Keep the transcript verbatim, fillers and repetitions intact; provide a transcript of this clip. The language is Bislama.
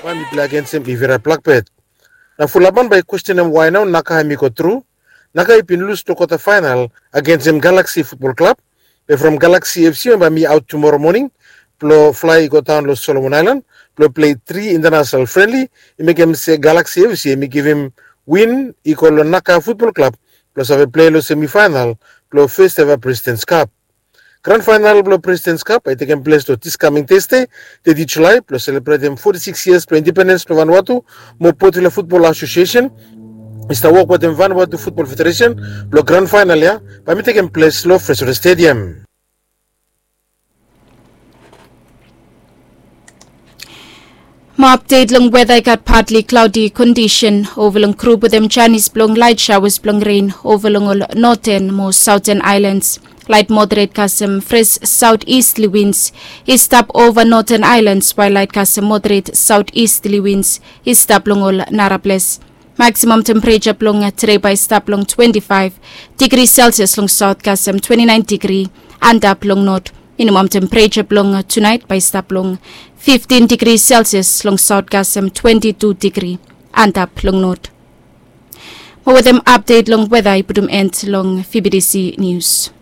Bae mi pilai agensem Ivira Blakbet. Na fulapan bae i kwestenem wae nao Naka hem i go tru. Naka i bin lus long kwata faenal agensem Galaksi Futbol Klab. Be from Galaksi FC hem bae mi aot tumoro moning blong flae i go daon long Solomon Aelan blong pilei tri intanasenal frenli. I mekem se Galaksi FC hem i givim win i go long Naka Futbol Klab blong save pilei long semifaenal blong fes eva Presidents Kap. Gran faenal blong Presidents Kap bae i tekem ples long dis kaming Tesde, teti Julae, blong selebretem foti sikis yias blong indipendens blong Vanuatu. Mo Portville Futbol Asosiesen i stap wok wetem Vanuatu Futbol Federesen blong gran faenal ya bae mi tekem ples long Fresno Stadium. Mo apdet long weda, i gat patli klaodi kondisen ova long grup wetem janis blong laet shaoas blong ren ova long ol noten mo saoten aelans. Laet moderet kasem fres saotistli wins i stap ova noten aelans, wael laet kasem moderet saotistli wins i stap long ol nara ples. Maksimam tempereja blong tede bae i stap long twenti faef digri selsias long saot kasem twenti naen digri antap long not. Minimam tempereja blong tunaet bae i stap long fiftin digri selsias long saot kasem twenti tu digri antap long not. Mo wetem apdet long weda i putum en long V B T C nius.